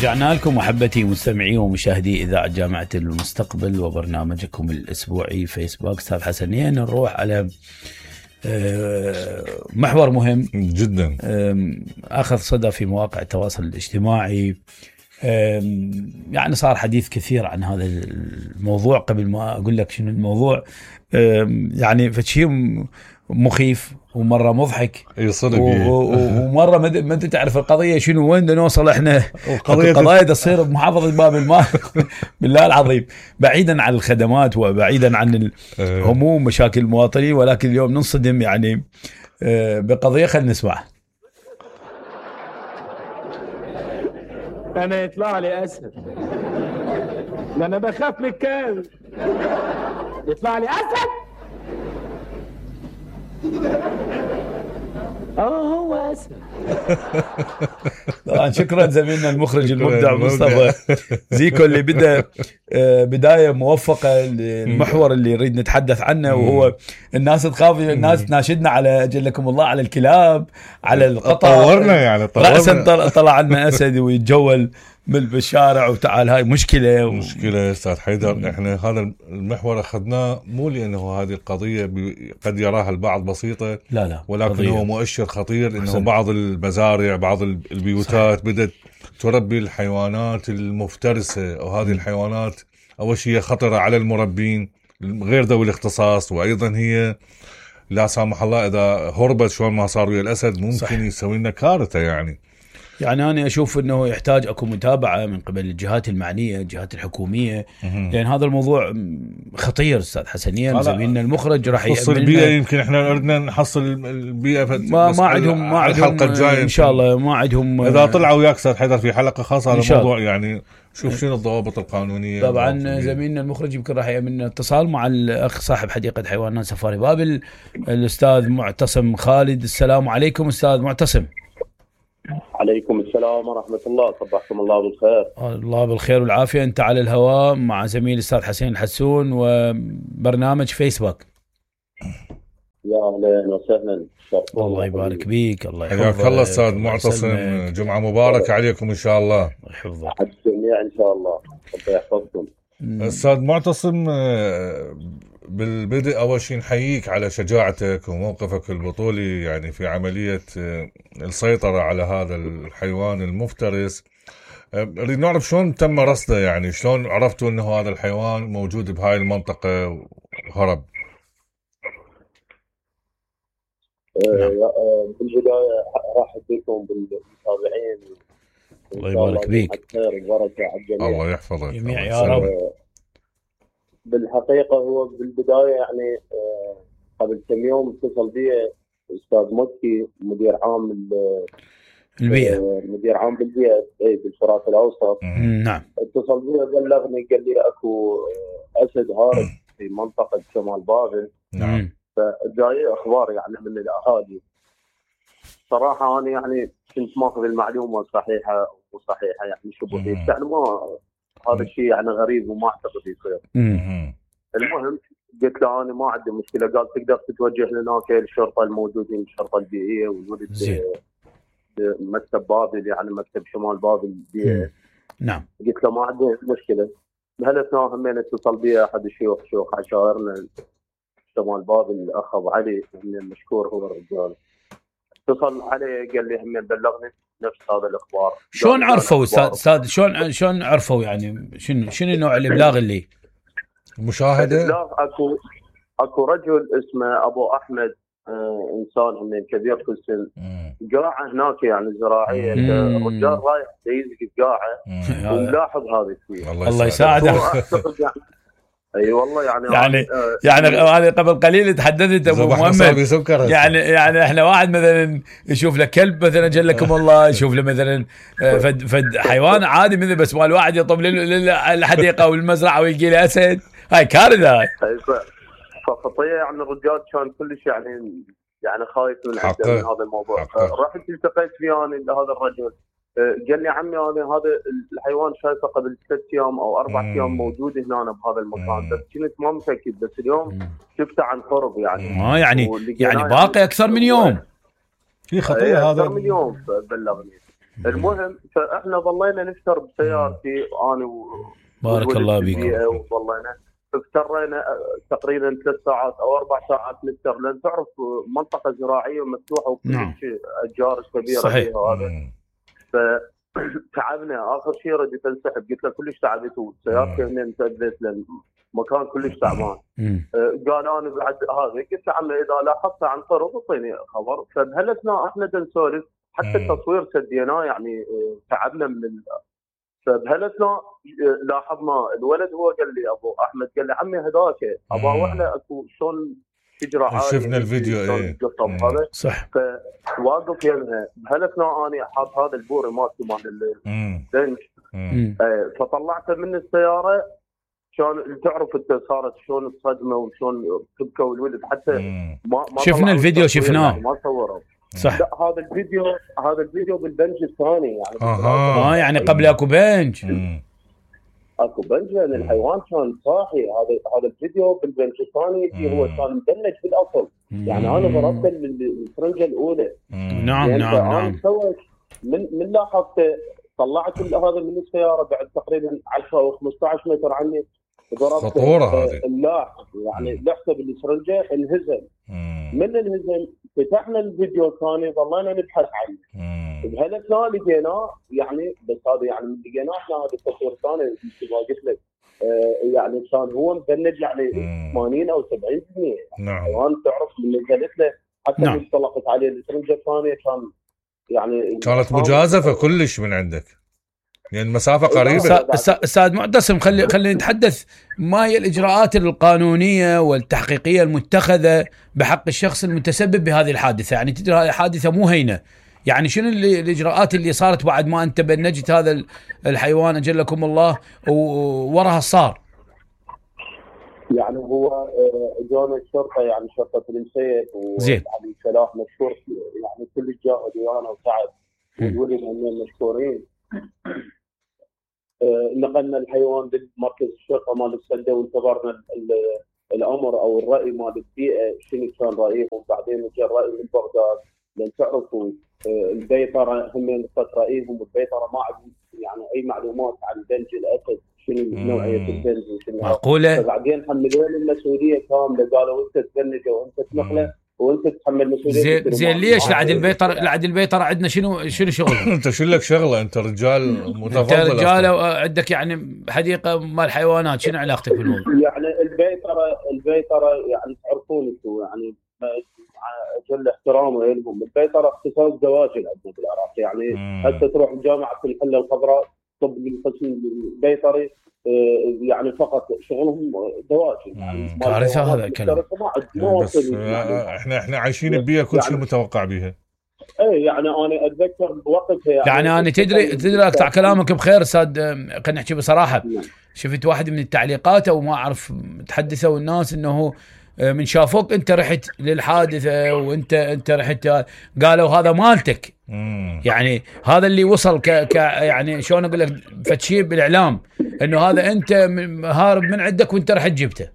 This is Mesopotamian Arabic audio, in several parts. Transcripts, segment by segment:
رجعنا لكم محبتي مستمعي ومشاهدي إذاعة جامعة المستقبل وبرنامجكم الأسبوعي فيسبوك. أستاذ حسنين نروح على محور مهم جدا أخذ صدى في مواقع التواصل الاجتماعي. يعني صار حديث كثير عن هذا الموضوع. قبل ما أقول لك شنو الموضوع يعني فشي مخيف ومرة مضحك ومرة ما انت تعرف القضية شنو وين نوصل احنا. القضايا تصير بمحافظة باب المال بالله العظيم، بعيدا عن الخدمات وبعيدا عن الهموم مشاكل المواطنين، ولكن اليوم ننصدم يعني بقضية. خلينا نسمع. انا يطلع لي اسد، انا بخاف من الكلب. يطلع لي اسد هو اسد. طبعا شكرا زميلنا المخرج المبدع مصطفى زيكو اللي بدا بدايه موفقه للمحور اللي نريد نتحدث عنه، وهو الناس تخاف، الناس تناشدنا على اجلكم الله على الكلاب على القطط. طورنا رأسا طلع عنا اسد ويتجول بالشارع، وتعال هاي مشكله استاذ حيدر. احنا هذا المحور اخذناه مو لانه هذه القضيه قد يراها البعض بسيطه، لا ولكن قضية. هو مؤشر خطير انه بعض المزارع بعض البيوتات صحيح. بدأت تربي الحيوانات المفترسه، وهذه الحيوانات اول شيء خطره على المربين غير ذوي الاختصاص، وايضا هي لا سامح الله اذا هربت شلون ما صار ويا الاسد ممكن صحيح. يسوي لنا كارثه. يعني أنا أشوف أنه يحتاج أكو متابعة من قبل الجهات المعنية، الجهات الحكومية، لأن هذا الموضوع خطير. أستاذ حسنين زميلنا المخرج راح يحصل البيئة، يمكن إحنا أردنا نحصل البيئة ما عندهم الحلقة الجاية إن شاء الله. ما عندهم إذا طلعوا وياك أستاذ حيدر في حلقة خاصة على الموضوع، يعني شوف شنو الضوابط القانونية. طبعا زميلنا المخرج يمكن راح يعمل اتصال مع الأخ صاحب حديقة حيوانات سفاري بابل الأستاذ معتصم خالد. السلام عليكم أستاذ معتصم. عليكم السلام ورحمة الله، صبحكم الله بالخير. الله بالخير والعافية. أنت على الهواء مع زميل الأستاذ حسين الحسون وبرنامج فيسبوك. يا أهلا وسهلا. الله يبارك بيك. الله حياك الله أستاذ معتصم، جمعة مباركة عليكم إن شاء الله. يحفظك على الجميع إن شاء الله، الله يحفظكم. أستاذ معتصم، بالبدء أول شيء نحييك على شجاعتك وموقفك البطولي يعني في عملية السيطرة على هذا الحيوان المفترس. نريد نعرف شلون تم رصده، يعني شلون عرفتوا أنه هذا الحيوان موجود بهاي المنطقة وهرب؟ بالبداية راح بكم بالمتابعين، الله يبارك بيك. خير وبركة على الجميع. الله يحفظك جميع يا رب. بالحقيقة هو بالبداية يعني قبل كم يوم اتصل بي أستاذ مكي مدير عام البيئة، مدير عام بالبيئة بالفرات الأوسط. نعم. اتصل بي بلغني قال لي أكو أسد هارب في منطقة شمال بابل. نعم. فجاي أخبار يعني من الأهالي. صراحة أنا يعني كنت ماخذ المعلومة صحيحة وصحيحة، يعني شبهية، يعني ما هذا الشيء يعني غريب وما أعتقد يصير. المهم قلت له أنا ما عندي مشكلة. قال تقدر تتوجه لهناك الشرطة الموجودين، الشرطة البيئية وجودة مكتب بابل، يعني مكتب شمال بابل البيئة. نعم. قلت له ما عندي مشكلة. بهالأثناء همين اتصل بي أحد شيوخ عشائرنا شمال بابل الأخ أبو علي، من المشكور هو الرجال. اتصل عليه قال لي همين بلغني نفس هذا الإخبار. شلون عرفوا أستاذ شلون عرفوا يعني شنو نوع الإبلاغ اللي مشاهدة؟ الإبلاغ أكو رجل اسمه أبو أحمد، إنسان همين كبير في السن، قاعة هناك يعني زراعية. الرجال رايح يزق قاعة وملاحظ هذا الشيء. الله يساعده. اي والله يعني انا قبل قليل تحدثت ابو محمد، يعني احنا واحد مثلا يشوف له كلب مثلا جلكم الله، يشوف له مثلا فد حيوان عادي مثل، بس مال واحد يطب للحديقه والمزرعه ويلقي له اسد، هاي كارثه. هاي فخطيه يعني الرجال كان كلش يعني خايف من هذا الموضوع. رحت التقيت فيه انا لهذا الرجل، قال لي عمي انا هذا الحيوان شايفه قبل 3 ايام او 4 ايام موجود هنا بهذا المكان، بس كنت ما متاكد، بس اليوم شفته عن قرب يعني يعني باقي اكثر من يوم. في خطيه هذا اكثر من يوم بلغني. المهم فاحنا ظلينا نفتر بسيارتي انا بارك الله بيكم. وظلينا افترينا تقريبا 3 ساعات او 4 ساعات نفتر، لان تعرف منطقه زراعيه مفتوحه وكل شيء اشجار كبيره صحيح. هذا. فتعبنا اخر شيء رديت انسحب، قلت له كلش تعبت وسيارتي هنا انتبهت لان مكان كلش تعبان. قال انا بعد هذا، قلت له عمي اذا لاحظت عن طرق اعطيني خبر. فبهالاثناء احنا نسولف حتى التصوير سديناه يعني تعبنا من فبهالاثناء لاحظنا الولد هو قال لي ابو احمد، قال لي عمي هذاك ابا احنا اكو شلون شجره عاليه شفنا الفيديو هذا صح. فواقف يمها بهالاثناء انا حاط هذا البوري مالتي مال البنش فطلعته من السياره. كان تعرف انت صارت شلون الصدمه وشلون تبكى والولد حتى ما شفنا الفيديو شفناه يعني ما صوره صح. لا هذا الفيديو بالبنج الثاني يعني يعني قبل اكو بنج اكو بنج لان الحيوان كان صاحي. هذا الفيديو بالبنج الثاني اللي هو كان مبنج بالاصل. يعني انا ضربت الفرنجه الاولى. نعم يعني نعم نعم. من لاحظت طلعت هذا من السياره بعد تقريبا 10 او 15 متر عني، ضربت خطوره هذه اللاحق يعني لحسه بالسرنجه انهزم. من الهزم فتحنا الفيديو الثاني ظلينا نبحث عنه. بهالاثناء لقيناه يعني بس هذا يعني من لقيناه احنا هذا التصوير الثاني مثل ما قلت لك يعني كان هو مبنج يعني 80 او 70%. نعم. الحيوان تعرف من نزلت له حتى نعم. انطلقت عليه السرنجه الثانيه كان يعني كانت مجازفه كلش من عندك يعني المسافه قريبه. استاذ معتصم خلينا نتحدث ما هي الاجراءات القانونيه والتحقيقيه المتخذه بحق الشخص المتسبب بهذه الحادثه؟ يعني تدري هذه حادثه مو هينه، يعني شنو الاجراءات اللي صارت بعد ما انت بنجت هذا الحيوان اجلكم الله ووراها صار؟ يعني هو جون الشرطه يعني شرطه المسيب وعلي سلاح مشكور يعني كل جاء ديانه وتعب والولد هم مشكورين. نقلنا الحيوان بمركز الشرطه مال السده وانتظرنا الامر او الراي مال البيئه شنو كان رايهم. بعدين جاء الراي من بغداد لان تعرفوا البيطره هم نقطه رايهم والبيطره ما عندهم يعني اي معلومات عن بنج الاسد شنو نوعيه البنج وشنو معقوله. فبعدين حملوني المسؤوليه كامله قالوا انت تبنجه وانت تنقله وانت تتحمل مسؤوليه. زين ليش لعد البيطره عندنا شنو شغل؟ انت شو لك شغله؟ انت رجال متفضل، انت رجال عندك يعني حديقه مال حيوانات، شنو علاقتك بالموضوع؟ يعني البيطره يعني تعرفون انتم يعني جل احترامه لهم. البيطره اختصاص دواجن عندنا بالعراق يعني حتى تروح جامعه الحله الخضراء طب القسم البيطري يعني فقط شغلهم دواجن يعني كارثه هذا الكلام. بس احنا عايشين ببيئه كل شيء متوقع بها. اي يعني انا اتذكر بوقتها يعني انا تدري اقطع كلامك بخير استاذ، خلينا نحكي بصراحه. شفت واحد من التعليقات او ما اعرف تحدثوا الناس انه من شافوك انت رحت للحادثه وانت رحت قالوا هذا مالتك. يعني هذا اللي وصل يعني شلون اقول لك فتشي بالاعلام انه هذا انت هارب من عندك وانت رحت جبته.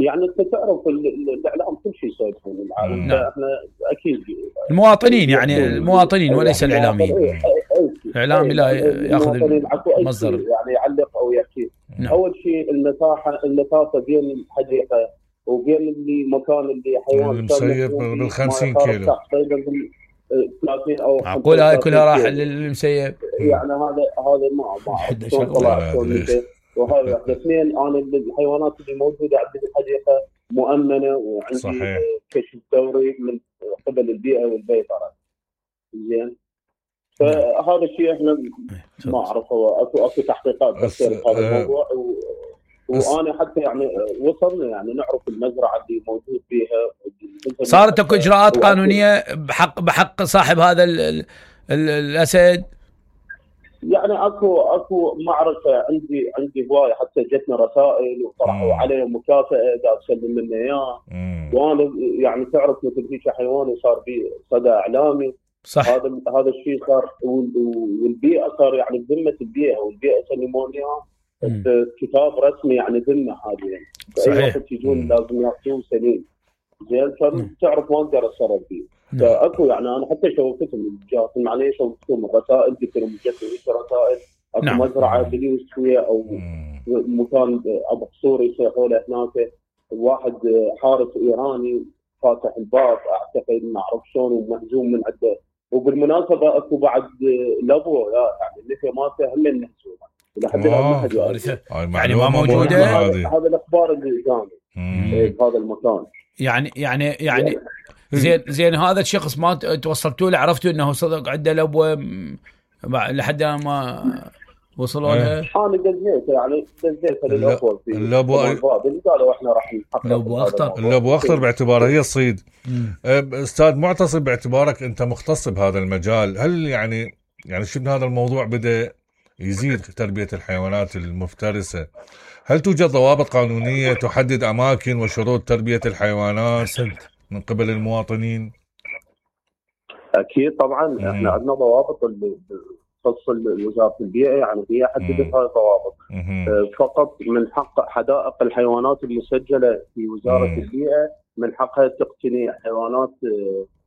يعني انت تعرف الاعلام كل شيء يسوون العالم. احنا اكيد المواطنين يعني المواطنين وليس الاعلاميين. الاعلامي لا ياخذ مصدر يعني يعلق او يحكي. اول شيء المسافه بين الحديقه وبين المكان اللي حيوان المسيب بال 50 كيلو تقريبا 30 او معقول هاي كلها راح للمسيب. يعني هذا ما طلع وهذا اثنين. انا الحيوانات اللي موجوده عندي بالحديقه مؤمنه وعندي كشف دوري من قبل البيئه والبيطره. زين فهذا الشيء احنا ما اعرفه اكو تحقيقات بس هذا الموضوع وانا حتى يعني وصلنا يعني نعرف المزرعه اللي موجود فيها. صارت اكو اجراءات قانونيه بحق صاحب هذا الاسد؟ يعني اكو معركه عندي هوايه حتى جتنا رسائل وطرحوا عليه مكافاه قال سلم لنا اياه. وانا يعني تعرف مثل هيك حيوان وصار به صدى اعلامي. صح. هذا الشيء صار والبيئه صار يعني بذمه البيئه والبيئه سلموني اياه كتاب رسمي يعني ذمه هذه يعني. صحيح. اي وقت يجون لازم ياخذوه سليم. زين تعرف ما اقدر اتصرف فيه. فاكو يعني انا حتى شوفتهم الجهات المعنيه، شوفتهم الرسائل، قلت لهم جت رسائل اكو مزرعه باليوسفيه او مكان ابو قصور يصيحوا له هناك، واحد حارس ايراني فاتح الباب اعتقد ما اعرف شلون ومهزوم من عنده. وبالمناسبه اكو بعد لابو يعني النفي مالته هم مهزومه لحد الان ما حد يعرف يعني ما موجوده. هذا الاخبار اللي جاني بهذا المكان. يعني زين هذا الشخص ما توصلتوا له، عرفتوا انه صدق عنده لبوه لحد ما وصلوا لها؟ انا دزيت للاخوه في اللبوه قالوا احنا راح نحقق اللبوه اخطر باعتباره هي الصيد. استاذ معتصم، باعتبارك انت مختص بهذا المجال، هل يعني شنو هذا الموضوع بدا يزيد تربيه الحيوانات المفترسه؟ هل توجد ضوابط قانونيه تحدد اماكن وشروط تربيه الحيوانات من قبل المواطنين؟ اكيد طبعا احنا عندنا ضوابط اللي تخص وزاره البيئه، يعني هي حددت هاي الضوابط. فقط من حق حدائق الحيوانات المسجله في وزاره البيئه من حقها تقتني حيوانات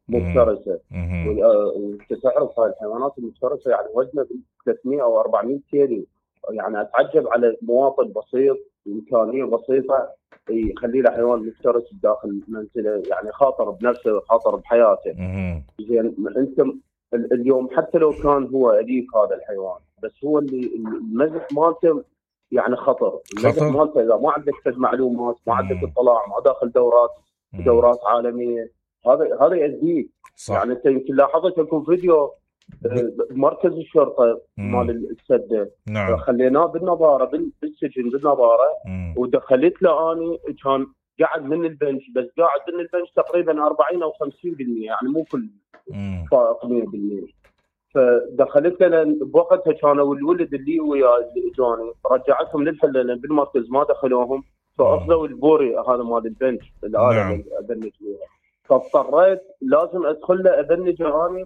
مفترسه. وانت تعرف هاي الحيوانات المفترسه يعني وزنها 300 او 400 كيلو، يعني اتعجب على مواطن بسيط امكانيه بسيطه يخلي له حيوان مفترس داخل منزله، يعني خاطر بنفسه وخاطر بحياته. زين انت اليوم حتى لو كان هو اليف هذا الحيوان، بس هو اللي المزح مالته يعني خطر. المزح مالته اذا ما عندك معلومات، ما عندك اطلاع، ما داخل دورات عالميه، هذا يأذيك. يعني انت يمكن لاحظت اكو فيديو مركز الشرطه مال السده، خليناه بالنظاره بالسجن بالنظاره، ودخلت له اني كان قاعد من البنش، بس قاعد من البنش تقريبا 40 او 50%، يعني مو كل فائق 100%. فدخلت له بوقتها كانوا الولد اللي وياه اللي اجاني رجعتهم للحلله بالمركز ما دخلوهم، فاخذوا البوري هذا مال البنش الاله اللي ابنج بيها، فاضطريت لازم ادخل له ابنجه اني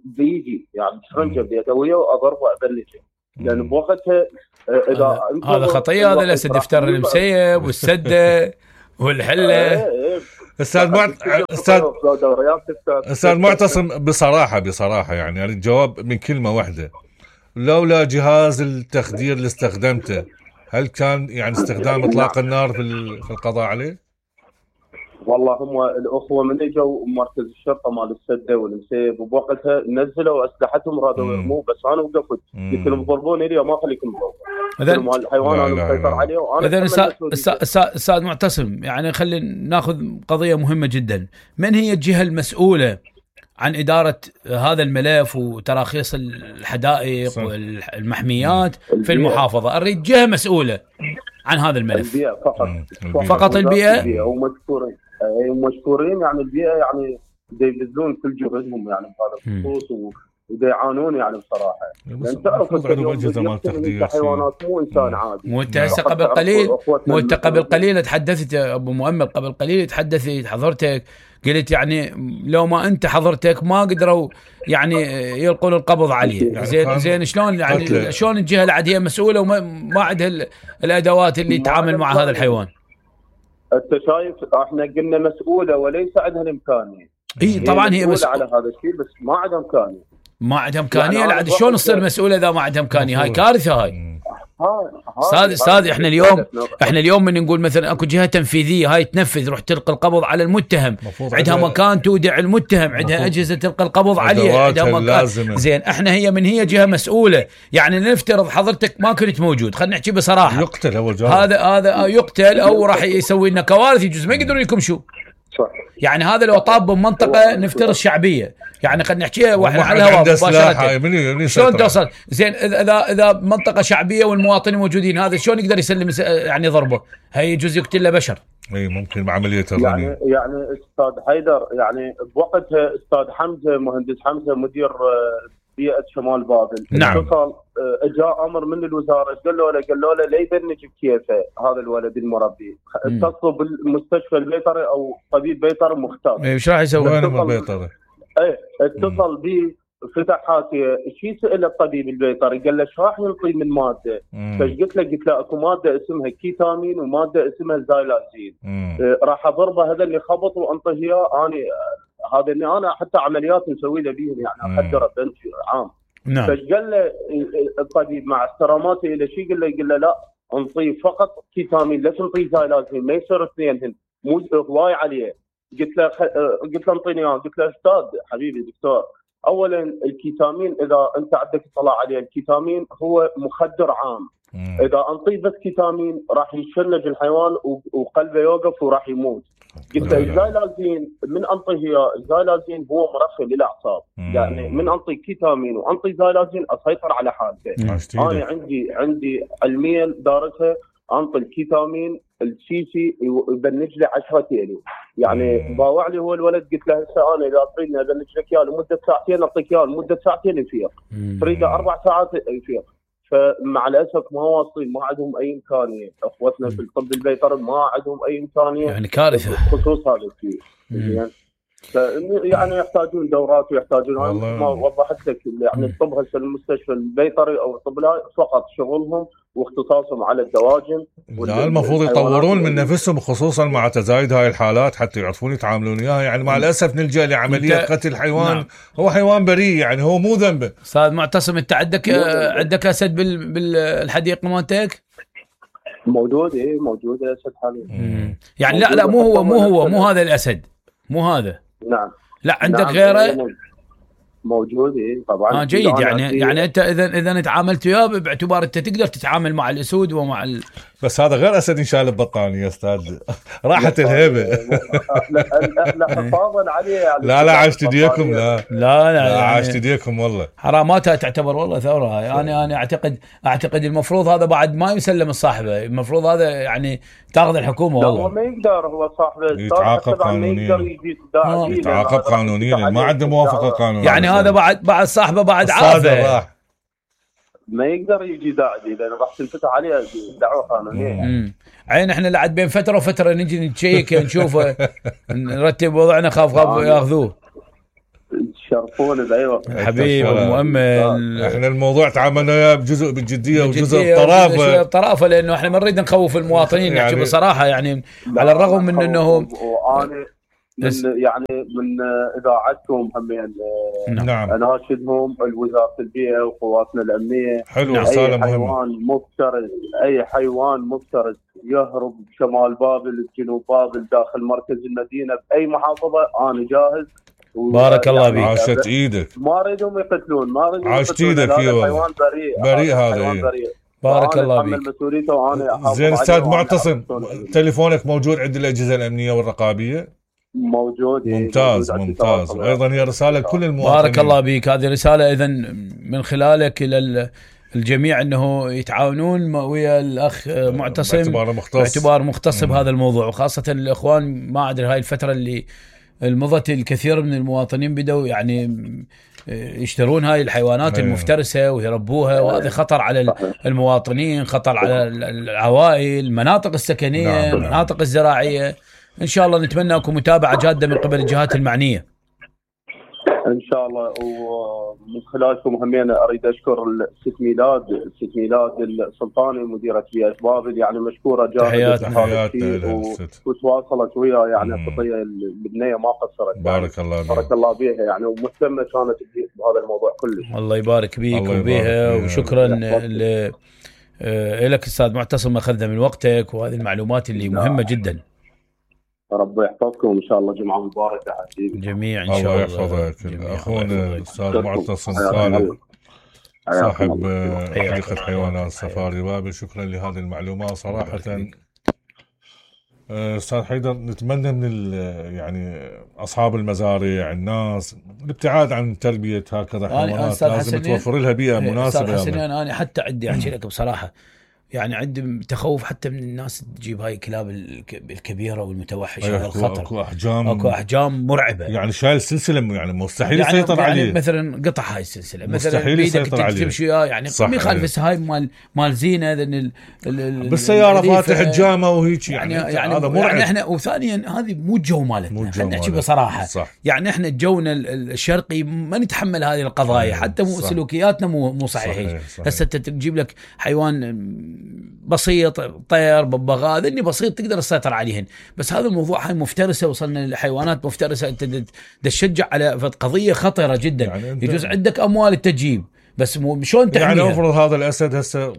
بيجي، يعني شرنجه بيدويه واضربه ابنجه، لان بوقتها اذا هذا خطيه، هذا الاسد دفتر المسيب والسده والحله. استاذ معتصم، بصراحه يعني الجواب من كلمه واحده، لولا جهاز التخدير اللي استخدمته هل كان يعني استخدام اطلاق النار في القضاء عليه؟ والله هم الاخوه من اجوا مركز الشرطه مال السده والمسيب وبوقتها نزلوا اسلحتهم رادوا يرموه، بس انا وقفت قلت لهم ضربوني لي ما خليكم تضربون الحيوان انا مسيطر عليه. وانا اذا استاذ معتصم، يعني خلينا ناخذ قضيه مهمه جدا. من هي الجهه المسؤوله عن اداره هذا الملف وتراخيص الحدائق والمحميات في المحافظه؟ اريد جهه مسؤوله عن هذا الملف. البيئه فقط البيئه ومشكورين يعني البيئه يعني يبذلون كل جهدهم يعني بهذا الخصوص ويعانون يعني بصراحه. لان تعرف الحيوانات مو انسان عادي. مو انت هسه قبل قليل تحدثت يا ابو مؤمل، قبل قليل تحدثت حضرتك قلت يعني لو ما انت حضرتك ما قدروا يعني يلقون القبض عليه. يعني زين شلون يعني شلون الجهه اللي هي مسؤوله وما عندها الادوات اللي تتعامل مع هذا الحيوان؟ انت شايف احنا قلنا مسؤوله وليس عندها الامكانيه. اي طبعا هي مسؤوله على هذا الشيء بس ما عندها امكانيه. ما عندها امكانيه يعني شلون تصير مسؤوله اذا ما عندها امكانيه؟ هاي كارثه هاي. استاذ احنا اليوم من نقول مثلا اكو جهه تنفيذيه هاي تنفذ، روح تلقي القبض على المتهم، عندها مكان تودع المتهم، عندها اجهزه تلقي القبض عليه، عندها مكان. زين احنا هي جهه مسؤوله. يعني نفترض حضرتك ما كنت موجود، خلينا نحكي بصراحه، يقتل اول جواب. هذا يقتل او راح يسوي لنا كوارث، يجوز ما يقدرون يكمشوا. يعني هذا لو طاب بمنطقه نفترض شعبيه، يعني خلينا نحكيها واحنا على الهواء مباشره، شلون توصل؟ زين اذا منطقه شعبيه والمواطنين موجودين، هذا شلون يقدر يسلم يعني ضربه؟ هي يجوز يقتل له بشر. اي ممكن بعمليه الرمي. يعني استاذ حيدر يعني بوقتها استاذ حمزه مهندس حمزه مدير بيئه شمال بابل، نعم، اتصل جاء امر من الوزاره، قالوا له لا يبنج بكيفه هذا الولد المربي، اتصلوا بالمستشفى البيطري او طبيب بيطري مختص. ايش راح يسوي البيطري؟ اتصل به فتح حاسيه، شي سأل الطبيب البيطري قال له شو راح ينطي من ماده؟ فقلت له اكو ماده اسمها كيتامين وماده اسمها زايلازين، راح اضربه هذا اللي خبط وانطيه اياه. اني هذا اني انا حتى عمليات نسوي له بيهم يعني اقدره بنت عام. نعم. فقال له الطبيب مع احتراماته الى شيء، قال له لا انطيه فقط كيتامين، لا تنطيه زايلازين، ما يصير اثنينهن مو هواي عليه. قلت له انطيني اياه. قلت له استاذ حبيبي دكتور، اولا الكيتامين اذا انت عندك اطلاع عليه، الكيتامين هو مخدر عام. اذا انطيه بس كيتامين راح يشنج الحيوان وقلبه يوقف وراح يموت. قلت له الزايلازين من انطيه الزايلازين هو مرخي للاعصاب، يعني من انطي كيتامين وانطي زايلازين اسيطر على حالته. انا عندي علميا دارسها، انطي الكيتامين السيسي يبنج لي 10 كيلو، يعني باوع لي هو الولد. قلت له هسه انا اذا تريدني ابنج لك اياه لمده ساعتين اعطيك اياه لمده ساعتين يفيق، تريده 4 ساعات يفيق. فمع الاسف ما واصلين، ما عندهم اي امكانيه. اخوتنا في الطب البيطري ما عندهم اي امكانيه، يعني كارثه بخصوص هذا الشيء. يعني يحتاجون دورات ويحتاجون، ما وضحت لك يعني الطب هسه المستشفى البيطري او الطب فقط شغلهم واختصاصهم على الدواجن. لا المفروض يطورون من نفسهم خصوصا مع تزايد هاي الحالات حتى يعرفون يتعاملون وياها. يعني مع الاسف نلجا لعمليه قتل حيوان. نعم. هو حيوان بريء، يعني هو مو ذنبه. استاذ معتصم انت عندك اسد بالحديقه مالتك؟ موجود. موجود اسد حاليا. يعني لا مو هذا الاسد، مو هذا. نعم. لا عندك غيره؟ موجود طبعا. جيد. يعني انت اذا تعاملت وياه باعتبار انت تقدر تتعامل مع الاسود ومع بس هذا غير اسد ينشال ببطاني يا استاذ. راحت الهيبه. لا حفاظا عليه يعني. لا عاشت ايديكم. لا عاشت ايديكم والله. حراماتها تعتبر والله ثوره. يعني انا اعتقد المفروض هذا بعد ما يسلم الصاحبه، المفروض هذا يعني تاخذ الحكومه والله. هو ما يقدر، هو صاحبه يتعاقب قانونيا. يتعاقب قانونيا، ما عنده موافقه قانونيه. يعني هذا بعد صاحبه بعد عافه ما يقدر يجي داعي لانه راح تنفتح عليه دعوه قانونيه. عين احنا لعد بين فتره وفتره نجي نتشيك نشوفه نرتب وضعنا، خاف ياخذوه. تشرفون بايوه حبيبي مؤمل. احنا الموضوع تعاملنا وياه بجزء بالجديه وجزء بطرافه لانه احنا ما نريد نخوف المواطنين. يعني بصراحه يعني على الرغم من انه من اذاعتكم همين. نعم. اناشدهم وزاره البيئه وقواتنا الامنيه. حلو. رساله مهمه. اي حيوان مفترس يهرب شمال بابل جنوب بابل داخل مركز المدينه باي محافظه انا جاهز. بارك الله بيك. عاشت ايدك. ما اريدهم يقتلون. عاشت ايدك. حيوان بريء هذا. بارك الله بيك. زين استاذ معتصم، تليفونك موجود عند الاجهزه الامنيه والرقابيه؟ موجود. ممتاز. وايضا هي رساله لكل المواطنين. بارك الله بيك. هذه رساله اذا من خلالك الى الجميع انه يتعاونون ويا الاخ معتصم باعتبار مختص بهذا الموضوع، وخاصه الاخوان. ما ادري هاي الفتره اللي مضت الكثير من المواطنين بدوا يعني يشترون هاي الحيوانات المفترسه ويربوها، وهذا خطر على المواطنين، خطر على العوائل، المناطق السكنيه، المناطق الزراعيه. ان شاء الله نتمنى لكم متابعه جاده من قبل الجهات المعنيه ان شاء الله. ومن خلالكم همين اريد اشكر الست ميلاد السلطاني مديره بيئه بابل، يعني مشكوره جاهده وتواصلت وياه يعني القضيه البنيه ما قصرت. بارك الله بيها يعني، ومهتمه كانت بهذا الموضوع كله. الله يبارك بيك وبيها. وشكرا لك استاذ معتصم، اخذنا من وقتك وهذه المعلومات اللي مهمه جدا. ربي يحفظكم ان شاء الله. جمعه مباركه حبيبي جميع ان شاء الله. الله يحفظك. اخونا الاستاذ معتصم صالح صاحب حديقه حيوانات سفاري بابل، شكرا لهذه المعلومات صراحه. استاذ حيدر، نتمنى من يعني اصحاب المزارع الناس الابتعاد عن تربيه هكذا حيوانات، لازم توفر لها بيئه مناسبه. استاذ حسنين، انا حتى عندي احكي لك بصراحه، يعني عندي تخوف حتى من الناس تجيب هاي الكلاب الكبيره والمتوحشه. هذا الخطر. اكو احجام مرعبه، يعني شايل سلسله، يعني مستحيل يسيطر عليه. يعني مثلا قطع هاي السلسله مستحيل يسيطر عليه. تمشي يعني ما يخالف هاي مال زينه بالسياره فاتح حجامه وهيك، يعني هذا مرعب. يعني احنا وثانيا هذه مو الجو مالتنا، خلينا نحكي بصراحه. يعني احنا جونا الشرقي ما نتحمل هذه القضايا، حتى مو سلوكياتنا مو صحيحه. هسه تجيب لك حيوان بسيط، طير، ببغاء، ذني بسيط تقدر تسيطر عليهن. بس هذا الموضوع هاي مفترسه، وصلنا لحيوانات مفترسه، انت تشجع على قضيه خطره جدا. يعني يجوز عندك اموال تجيب، بس شلون تحميها؟ يعني افرض هذا الاسد هسه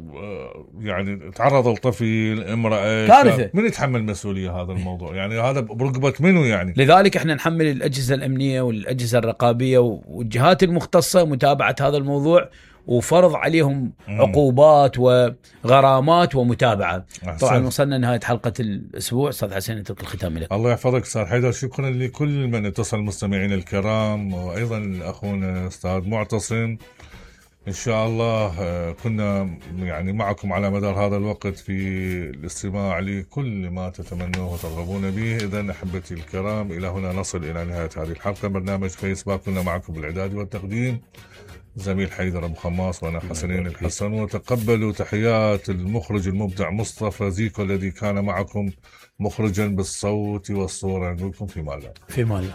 يعني تعرض لطفل، امراه، كارثه، من يتحمل مسؤوليه هذا الموضوع؟ يعني هذا برقبه منو يعني؟ لذلك احنا نحمل الاجهزه الامنيه والاجهزه الرقابيه والجهات المختصه متابعه هذا الموضوع، وفرض عليهم عقوبات وغرامات ومتابعه. طبعا وصلنا نهايه حلقه الاسبوع. استاذ حسين اترك الختام لك. الله يحفظك استاذ حيدر. شكرا لكل من اتصل، المستمعين الكرام، وايضا اخونا استاذ معتصم. إن شاء الله كنا يعني معكم على مدار هذا الوقت في الاستماع لكل ما تتمنوه وترغبون به. إذن أحبتي الكرام، إلى هنا نصل إلى نهاية هذه الحلقة. برنامج فيسباك كنا معكم بالإعداد والتقديم زميل حيدر أبو خماس وأنا حسنين الحسن. وتقبلوا تحيات المخرج المبدع مصطفى زيكو الذي كان معكم مخرجا بالصوت والصورة. نقول لكم في مال الله. في مال الله.